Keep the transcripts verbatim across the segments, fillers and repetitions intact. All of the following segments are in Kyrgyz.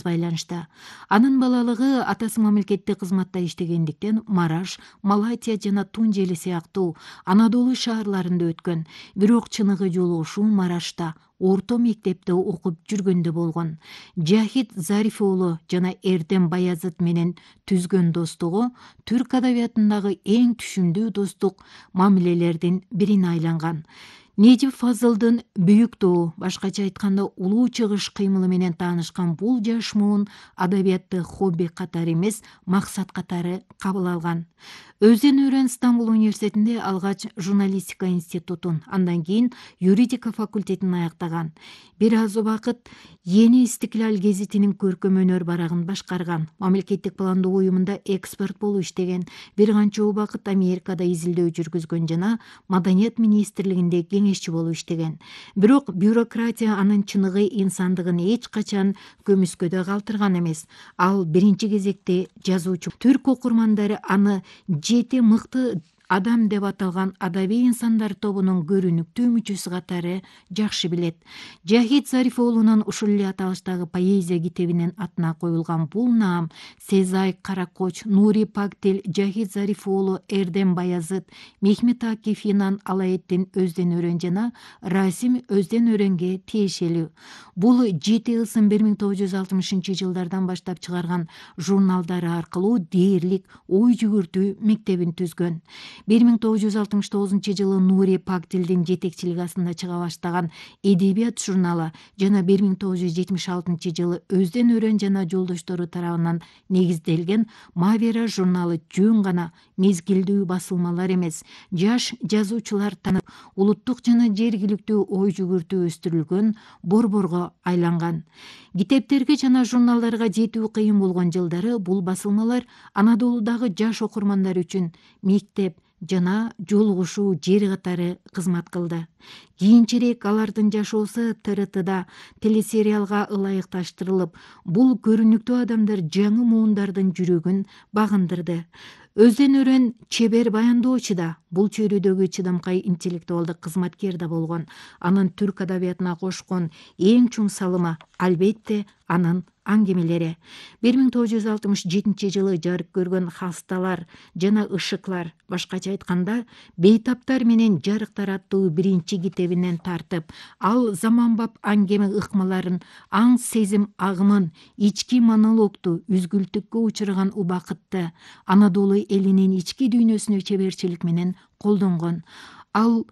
байланышта. Анын балалыгы атасы мамлекеттик кызматта иштегендиктен Мараш, Малатия жана Тунжели сыяктуу Анадолу шаарларында өткөн. Бирок чыныгы жолу ушул Марашта орто мектепте окуп жүргөндө болгон. Жахит Зариф уулу жана Эрдем Баязыт менен түзгөн достугу түрк адабиятындагы эң түшүмдүү достук мамилелердин бирине айланган. Нежип Фазылдын Büyük Doğu, башкача айтканда Улуу чыгыш кыймылы менен таанышкан бул жаш муун адабиятты хобби катары эмес, максат катары кабыл алган. Өздөн өрөн Стамбул университетинде алгач журналистика институтун, андан кийин юридика факультетин аяктаган. Бир аз убакыт Yeni Istiklal гезитинин көркөм өнөр барагын башкарган. Мамлекеттик пландоо уюмунда эксперт болуп иштеген. Бир канча убакыт Америкада изилдөө жүргүзгөн жана Маданият министрлигинде кеңешчи болуп иштеген. Бирок бюрократия анын чыныгы инсандыгын эч качан көмүскөдө калтырган эмес. Ал биринчи кезекте жазуучу. Түрк окурмандары аны жети мыкты адам деп аталган адабий инсандар тобунун көрүнүктүү мүчөсү катары жакшы билет. Жахит Зариф уулунун ушул эле аталыштагы поэзия китебинин атына коюлган бул наам Сезай Каракоч, Нури Пактил, Жахит Зариф уулу Эрдем Баязыт, Мехмет Акиф Инан Алаэттин Өздөн өрөн жана Расим Өздөн өрөнгө тиешелүү. Бул жети ысым бир миң тогуз жүз алтымышынчы жылдардан баштап чыгарган журналдары аркылуу дээрлик ой жүгүртүү мектебин түзгөн. бир миң тогуз жүз алтымыш тогузунчу жылы Нури Пактилдин жетекчилиги астында чыга баштаган Эдебият журналы жана бир миң тогуз жүз жетимиш алтынчы жылы Өздөн өрөн жана жолдоштору тарабынан негизделген Мавера журналы жөн гана мезгилдүү басылмалар эмес, жаш жазуучулар танып, улуттук жана жергиликтүү ой жүгүртүү өстүрүлгөн борборго айланган. Китептерге жана журналдарга жетүү кыйын болгон жылдары бул басылмалар Анадолудагы жаш окурмандар үчүн мектеп жана жолугушуу жери катары кызмат кылды. Кийинчерээк алардын жашоосу Т Р Тда телесериалга ылайыкташтырылып, бул көрүнүктүү адамдар жаңы муундардын жүрөгүн багындырды. Өздөн өрөн чебер баяндоочу да, бул чөйрөдөгү чыдамкай интеллектуалдык кызматкер да болгон. Анын түрк адабиятына кошкон эң чоң салымы албетте анын аңгемелери. бир миң тогуз жүз алтымыш жетинчи жылы жарык көргөн Хасталар жана Ышыклар, башкача айтканда Бейтаптар менен жарыктар аттуу биринчи китебинен тартып, ал заманбап аңгеме ыкмаларын, аң сезим агымын, ички монологду үзгүлтүккө учураган убакытты Анадолу элинин ички дүйнөсүнө чеберчилик менен колдонгон. Ал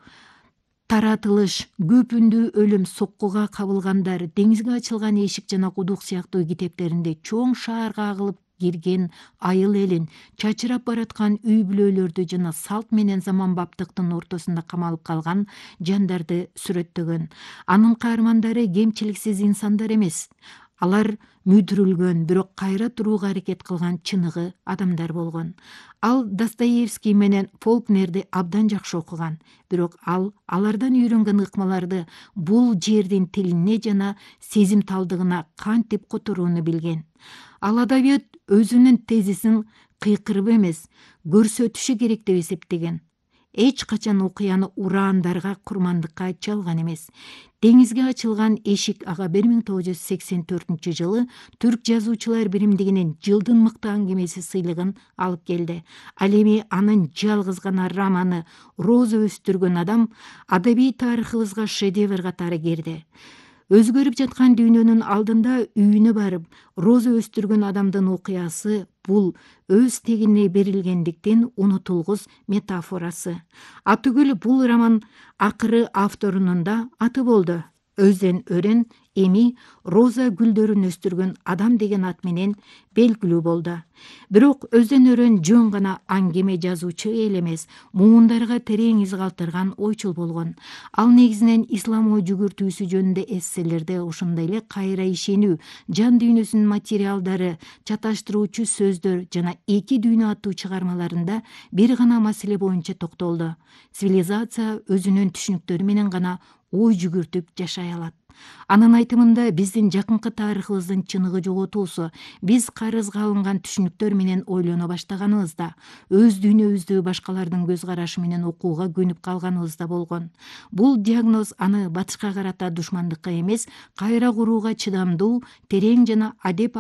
таратылыш, көп үндүү өлүм, соккуга кабылгандар, деңизге ачылган эшик жана кудук сыяктуу китептеринде чоң шаарга агылып кирген айыл элин, чачырап бараткан үй бүлөлөрдү жана салт менен заманбаптыктын ортосунда камалып калган жандарды сүрөттөгөн. Анын каармандары кемчиликсиз инсандар эмес. Алар мүдүрүлгөн, бирок кайра турууга аракет кылган чыныгы адамдар болгон. Ал Достоевский менен Фолкнерди абдан жакшы окуган, бирок ал алардан үйрөнгөн ыкмаларды бул жердин тилине жана сезимталдыгына кантип которууну билген. Ал адабият өзүнүн тезисин кыйкырып эмес, көрсөтүшү керек деп эсептеген. Эч качан окуяны ураандарга, курмандыкка чалган эмес. Деңизге ачылган эшик ага бир миң тогуз жүз сексен төртүнчү жылы Түрк жазуучулар биримдигинин жылдын мыкты аңгемеси сыйлыгын алып келди. Ал эми анын жалгыз гана романы «Роза өстүргөн адам» адабий тарыхыбызга шедевр катары кирди. Өзгөрүп жаткан дүйнөнүн алдында үйүнө барып, роза өстүргөн адамдын окуясы бул өз тегине берилгендиктен унутулгус метафорасы. Атүгүл бул роман акыры авторунун да аты болду. Өздөн өрөн эми роза гүлдөрүн өстүргөн адам деген ат менен белгилүү болду. Бирок Өздөн өрөн жөн гана аңгеме жазуучу эл эмес, муундарга терең из калтырган ойчул болгон. Ал негизинен ислам ой жүгүртүүсү жөнүндө эсселерде, ошондой эле кайра ишенүү, жан дүйнөсүнүн материалдары, чаташтыруучу сөздөр жана эки дүйнө аттуу чыгармаларында бир гана маселе боюнча токтолду. Цивилизация өзүнүн түшүнүктөрү менен гана ой жүгүртүп жашай алат. Анын айтымында биздин жакынкы тарыхыбыздын чыныгы жоготуусу биз карызга алынган түшүнүктөр менен ойлоно баштаганыбызда, өз дүйнөбүздү башкалардын көз карашы менен окууга көнүп калганыбызда болгон. Бул диагноз аны батышка карата душмандыкка эмес, кайра курууга чыдамдуу, терең жана адеп